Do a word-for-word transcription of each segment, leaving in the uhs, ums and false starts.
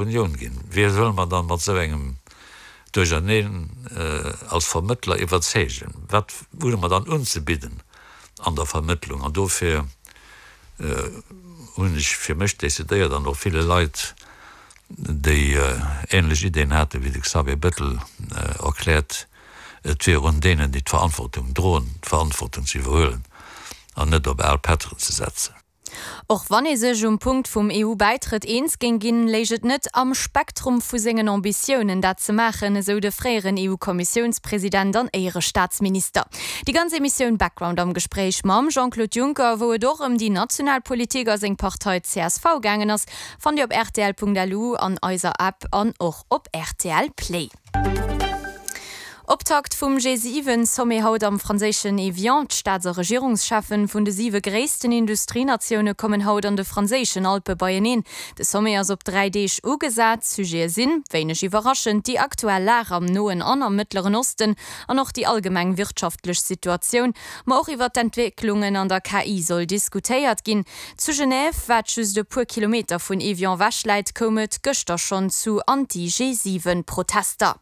Unioun ginn. Wie solle mer dann mat esou engem Duercherneen als Vermëttler iwwerzeegen? Wat hu mer dann unzebidden an der Vermëttlung? An dofir hunn ech fir mech decidéiert, an och ville Leit, déi ähnlech Ideen hate wéi de Xavier Bettel, erkläert, et wier un deenen, déi d'Verantwortung droen, d'Verantwortung ze iwwerhuelen an net op al Pätteren ze setzen. Och wann ee sech um Punkt vum E U-Bäitrëtt eens géing ginn, léich et net am Spektrum vu sengen Ambitiounen, dat ze maachen, esou de fréieren E U-Kommissiounspresident an Éierestaatsminister. Déi ganz Emissioun Background am Gespréich mam Jean-Claude Juncker, wou et och ëm déi national Politik a seng Partei C S V gaangen ass, fannt Dir op R T L Punkt L U, an eiser App an och op R T L Play. Optakt vum G siwen Sommet haut am franséischen Evian. D'Staats a Regierungscheffen vun de siwe gréissten Industrienatioune kommen haut an de franséischen Alpe beieneen. De Sommet ass op dräi Deeg ugesat. Sujete sinn, wéineg iwwerraschend, déi aktuell Lag am Noen an am Mëttleren Osten an och déi allgemeng wirtschaftlech Situatioun. Ma och iwwer d'Entwécklungen an der K I soll diskutéiert ginn. Zu Genève, wat just e puer Kilometer vun Evian ewech läit, koum et gëschter schonn zu Anti-G siwen Protester.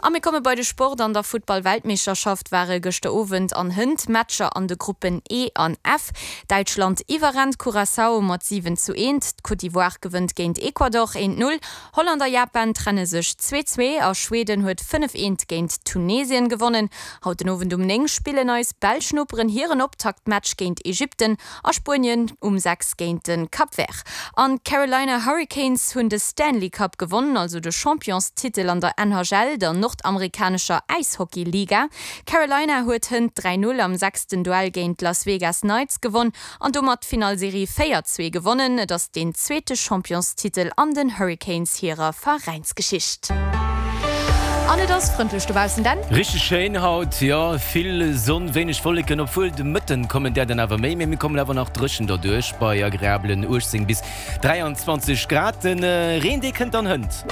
A mir komme bei de Sport. An der Futtball-Weltmeeschterschaft ware gëschter Owend an hënt Matcher an de Gruppen E an F. Däitschland iwwerrennt Curaçao mat siwen zu eent. D'Côte d'Ivoire gewënnt géint Ecuador eent null. Holland a Japan trenne sech zwee zwee a Schweden huet fënnef eent géint Tunesien gewonnen. Haut den Owend um néng spillen eis belsch Noperen hiren Optaktmatch géint Ägypten a Spuenien um sechs géint de Cap Vert. An d'Carolina Hurricanes hunn de Stanley Cup gewonnen, also de Championstitel an der N H L, der nordamerikanescher Äishockey-Liga. Carolina huet hënt dräi null am sechsten Duell géint Las Vegas Knights gewonn an domat d'Finalserie véier zwee gewonnen. Et ass deen zweete Championstitel an den Hurricanes hirer Veräinsgeschicht. An et ass frëndlech dobaussen, Dan. Richteg schéin haut, jo, vill Sonn, wéineg Wolleken, obwuel de Mëtten kommen där dann awer méi, mee mir kommen awer nach dréchen derduerch bei agreabelen uechtzéng bis dräianzwanzeg Grad. Den Reen, dee kënnt dann hënt.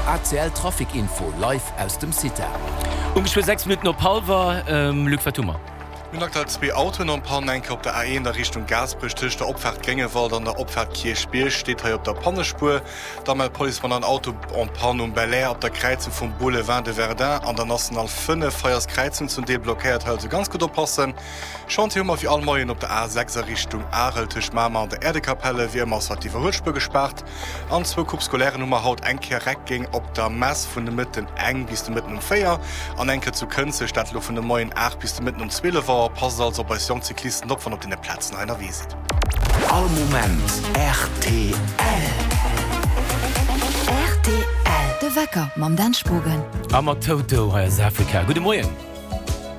A C L Trafic Info live aus dem CITA. Um geschwë sechs Minutten op hallwer, Luc, wat hu mer? Mir hunn aktuell zwee Autoen en panne, eng Kéier op der A eent a Richtung Gaasperech tëscht der Opfaart Gréngewald an der Opfaart Kierchbierg, steet hei op der Pannespuer. Da mellt d'Police mer nach en Auto en panne um Belair op der Kräizung vum Boulevard de Verdun an der National fënnef. Hei ass d'Kräizung zum Deel blockéiert, hei also ganz gutt oppassen. Chantier hu mer wéi all Moien op der A sechs a Richtung Arel tëscht Mamer an der Äerdekapelle. Wéi ëmmer ass haut d'Iwwerhuelspuer gespaart. An zwou Coupe Scolairen hu mer haut, eng Kéier Reckeng op der Mess vun de Mëtten eng bis de Mëtten um véier an eng Kéier zu Kënzeg, dat elo vun de Moien aacht bis de Mëtten um zwielef Auer. Passt also op eis jonk Cyclisten op, wann op deene Plazen hei ënnerwee sidd. All Moment R T L. R T L. De Wecker mam Dan Spogen. A mat Toto, hei ass Africa. Gudde Moien.